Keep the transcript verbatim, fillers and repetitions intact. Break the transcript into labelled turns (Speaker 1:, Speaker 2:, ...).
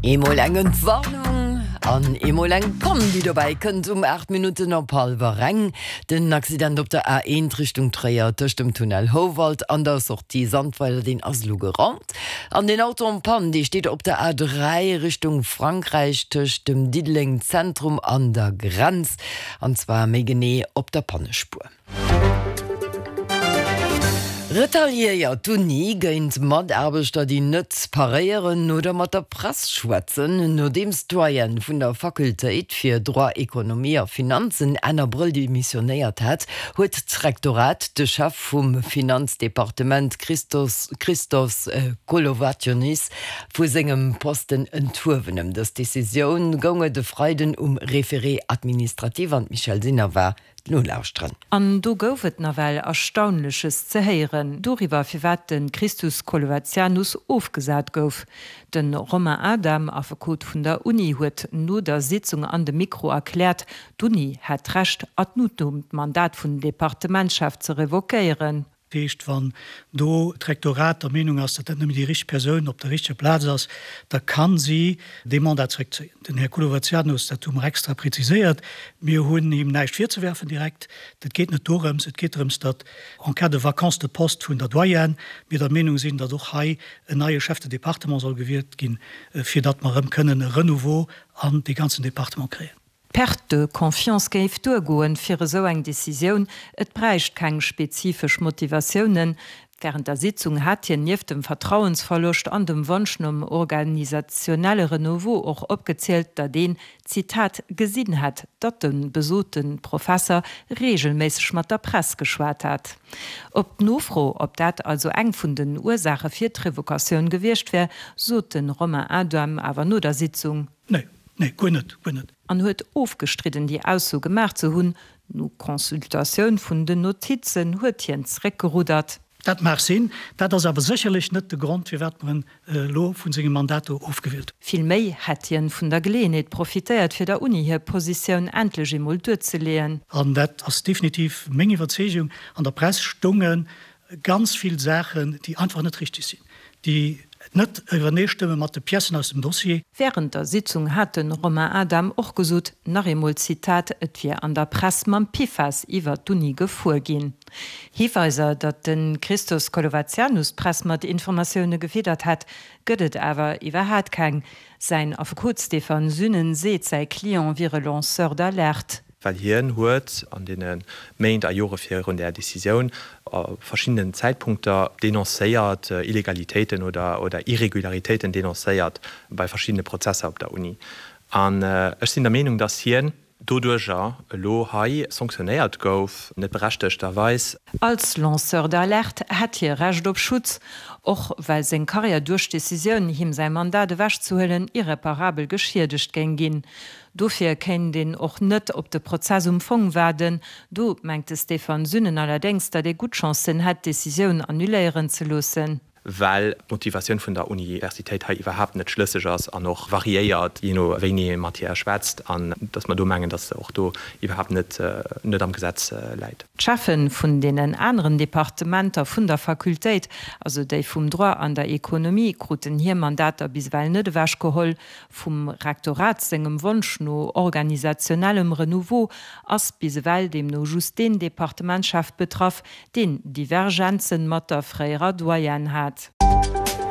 Speaker 1: Eemol eng Entwarnung an eemol eng Pann, déi dobäi kënnt um aacht Minutten op hallwer eng. Den Accident op der A eent Richtung Tréier tëscht dem Tunnel Houwald an der Sortie Sandweiler, deen ass elo geraumt. An den Auto en panne, dee steet op der A dräi Richtung Frankräich tëscht dem Diddeleng Zentrum an der Grenz, an zwar méi genee op der Pannespuer. Retaliéiert d'Uni géint Mataarbechter, déi net paréieren oder mat der Press schwätzen? Nodeems d'Doyenne vun der Fakultéit fir Droit, Ekonomie a Finanzen Enn Abrëll demissionéiert hat, huet d'Rektorat de Chef vum Finanzdepartement Christos Christos Kolovationis vu sengem Posten enthuewen. Ëm dës Decisioun goung et e Freiden um Référé administratif an d'Michèle Sinner war Nolauschteren.
Speaker 2: An do gouf et nawell Erstaunleches ze héieren doriwwer, firwat de Christus Kolovazianus ofgesat gouf. De Romain Adam, Affekot vun der Uni, huet no der Sitzung an de Mikro erkläert, d'Uni hätt d'Recht ad nutum d'Mandat vun Departementschef ze revoquéieren.
Speaker 3: Dat heescht, wann do d'Rektorat der Meenung ass, datt dat nëmmen déi richteg Persoun op der richteger Plaz ass, da ka si dee Mandat zréckzéien. Den Här Kolovazianus, dat hu mer extra präziséiert, mir hunn him näischt virzewerfen direkt. Dat geet net dorëms. Et geet drëms, datt en cas de vacance de poste vun der Doyenne mir der Meenung sinn, datt och hei en neie Chef de département soll gewielt ginn, fir datt mer erëm kënnen e Renouveau an dee ganzen Département kréien.
Speaker 2: D'Perte de confiance géif duergoen, fir esou eng Decisioun, et bräicht keng spezifesch Motivatiounen. Wärend der Sitzung hat hien nieft dem Vertrauensverloscht an dem Wonsch nom organisationelle Renouveau och opgezielt, datt een, Zitat, gesinn hätt, datt de besote Professer reegelméisseg mat der Press geschwat hätt. Op d'Nofro, ob dat also eng vun den Ursaache fir d'Revocatioun gewiescht wär, sot de Romain Adam awer no der Sitzung.
Speaker 3: Nee. Nee, guer net, guer net.
Speaker 2: An huet ofgestridden, déi Ausso gemaach ze hunn. No Consultatioun vun den Notizen huet hien zeréckgeruddert.
Speaker 3: Dat mag sinn, dat ass awer sécherlech net de Grond, firwat mer en elo vu sengem Mandat do ofgewielt hunn.
Speaker 2: Vill méi hätt hien vun der Geleeënheet profitéiert, fir der Uni hir Positioun endlech eemol duerzeleeën.
Speaker 3: An dat ass definitiv meng Iwwerzeegung, an der Press stounge ganz vill Saachen, déi einfach net richtig sinn, déi net iwwerneestëmme mat de Piècen aus dem Dossier.
Speaker 2: Wärend der Sitzung hat de Romain Adam och gesot, nach eemol Zitat, et wier an der Press mam Pifas iwwert d'Uni gefuer ginn. Hiweiser, datt de Christos Kolovazianus d'Press mat Informatioune gefiddert hätt, gëtt et awer iwwerhaat keng. Säin Affekot Stéphane Sünnen seet, säi Client wier e Lanceur d'alerte.
Speaker 4: Well hien huet an deene Méint a Jore virun där Decisioun a verschiddenen Zäitpunkter denoncéiert, Illegalitéiten oder Irregularitéiten denoncéiert bei verschiddene Prozesser op der Uni. An ech sinn der Meenung, dass hien doduerjer elo hei sanktionéiert gouf, net berechtegterweis.
Speaker 2: Als Lanceur d'alerte hätt hie Recht op Schutz, och well seng Karriär duerch d'Decisioun, him säi Mandat ewechzehuelen, irreparabel geschiedegt géing ginn. Dofir kéint een och net op de Prozess um Fong waarden. Do mengt de Stéphane Sünnen allerdéngs, datt ee gutt Chancen hätt, d'Decisioun annuléieren ze loossen.
Speaker 4: Well d'Motivatioun vun der Universitéit hei iwwerhaapt net schlësseg ass an och variéiert, jee no wéini ee mat hir schwätzt, an datt mer do mengen, datt se och do iwwerhaapt net net am Gesetz läit.
Speaker 2: D'Cheffe vun deenen aneren Departementer vun der Fakultéit, also déi vum Droit an der Ekonomie, kruten hir Mandater bis ewell net ewechgeholl. Vum Rektorat sengem Wonsch no organisationellem Renouveau ass bis ewell deemno just deen Departementschef betraff, deen Divergenzen mat der fréierer Doyenne hat.